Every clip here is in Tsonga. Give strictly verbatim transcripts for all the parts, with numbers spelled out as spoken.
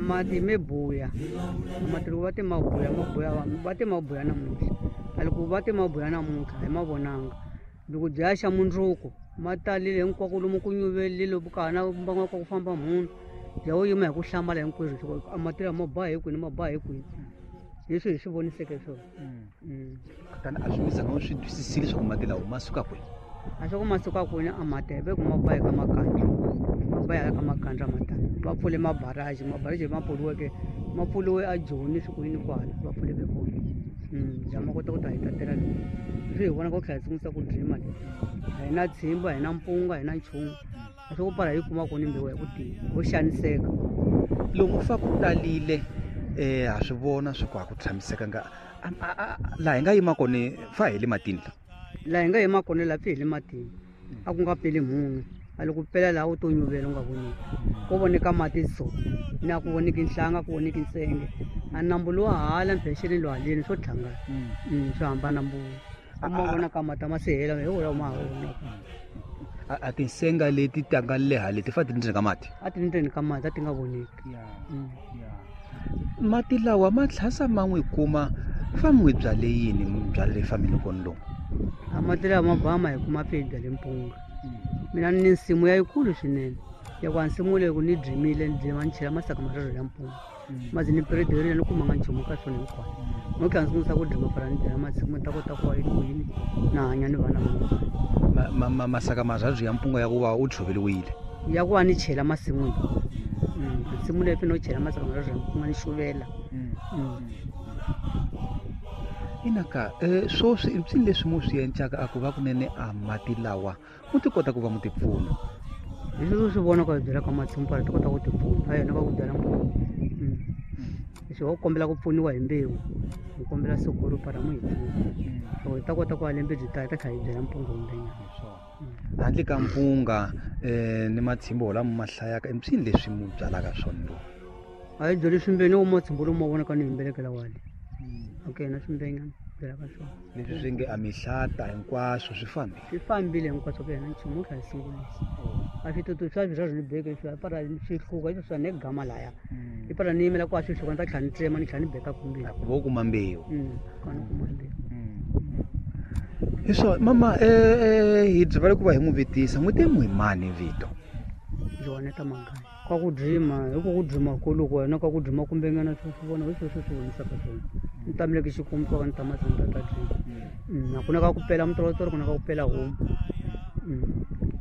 Mati me buya mati loko va te ma buya ma buya va te ma buya namuntlha a loko va te ma buya namuntlha hi ma vonanga loko bya xa mundzuku ma talile hinkwako lomu ku nyuvelile ka ha na mbangu ka ku famba munhu bya wo yima hi ku hlamala hinkwerhu swa a mati lama ma ba hi kwini ma ba hi kwini leswi hi swi voniseke swona. Kutani a swi mi zanga swi twisisile leswaku mati lawa ma suka kwini? A swa ku ma suka kwini a mati ve ku ma ba hi ka makandla ma ba hi ka makandla matani va pfule mabaraji mabaraji ma pfuriweke ma pfuriwe a Joni swi ku yini kwala va pfuleke kona bya ma kota ku ta hi tatela lowu leswi hi vonaka ku tlhela hi sungulisa ku drima leyi a hi na tshimba hi na mpunga hi na nchumu a swi ku pfala hi kuma kona mbewu ya ku tiya ho xaniseka. Lomu fa ku talile um ha swi vona swa ku a ku tshamisekanga laha hi nga yima kona fa hi le matini la laha hi nga yima kona laha pfi hi le matini a ku nga peli munhu a loko pela laha u to nyuvela u nga voneki ko voneka mati so ni a ku voneki nhlanga ku voneki nsenge a nambu lowa hala mpexeni lowa haleni swo tlhangana swi hambana mbulo u ma vona ka mati a ma se hela hi wona ma ha vonaka. A tinsenga leti tanga leha leti fa ti ndzeni ka mati a ti ndzeni ka mati a ti nga voneki. Mati lawa ma tlhasa ma n'wi kuma fa n'wi byale yini byale fambini kona lomu? A mati lawa ma ba ma hi kuma pfi hi byale mpunga mina ni nsimu ya yikulu swinene ya ku a nsimu leyi ku ni drimile ni drima ni chela masaka marharhu ya mpunga mazi ni pirederile ni kumanga nchumu ka swona hinkwaswo no tlhela ni sungulisa ku drima fana ni byala masimu ni ta kota ku va ku yini na hanya ni vana va mina. Masaka marharhu ya mpunga ya ku va u tshoveriwile ya ku va ni chela masin'wini nsimu leyi pfi no chela masaka marharhu ya mpunga ni xuvela. Inaka um swoswi i mpsini leswi mu swi encaka a ku va kunene a mati lawa mu ti kota ku va mu ti pfuna? Hi leswi swi vonaka hi byela ka masimu pala ti kota ku ti pfuna a yona va ku byala mpunga leswi va ku kombela ku pfuniwa hi mbewu hi kombela sukuru para mu hi pfuna so hi ta kota ku a lembe byi ta hi ta tlhela hi byala mpunga wumbenyana. Handle ka mpunga um ni matshimbo lama ma hlayaka i mpsini leswi mu byalaka swona lowu? A hi byeli swimbeni wo matshimbo lomu ma vonaka ni himbelekela wale okay na swimbenyana byelaka swona leswi swi nge a mihlata hinkwaswo swi fambile swi fambile hinkwaswo ku yena nchumu wu tlhela hi sungulisa a switutu swa swirharhu ni beke swi para swi hluka leswi swa ne gama laya i para ni yimela ku a swi hluka ni ta tlhela ni tsema ni tlhela ni beka kumbeni ku va u kuma mbewu kona kuma mbewu. Hi swona mama um hi byivale ku va hi n'wi vitisa n'wi te n'wi mani vito? Joaneta Magaya ka ku drima hi ku ku drima kuluku wena ka ku drima kumbenyana swi swi vona hi sweswi swi vonisaka swona ni tamile xikwembu swa ka ni tama ni ta ta drima a ku na ka ku pela mutorotoro ku na ka ku pela homu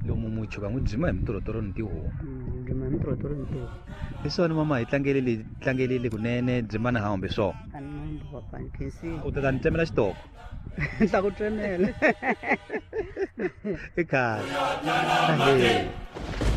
lomu muchuka n'wi drima hi mutorotoro ni tihomu drima hi mutorotoro ni tihomu. Hi swona mama hi tlangelele tlangelele kunene drima na hambi swona u ta ta ni tsemela xitoko ni ta ku tsemela i khale.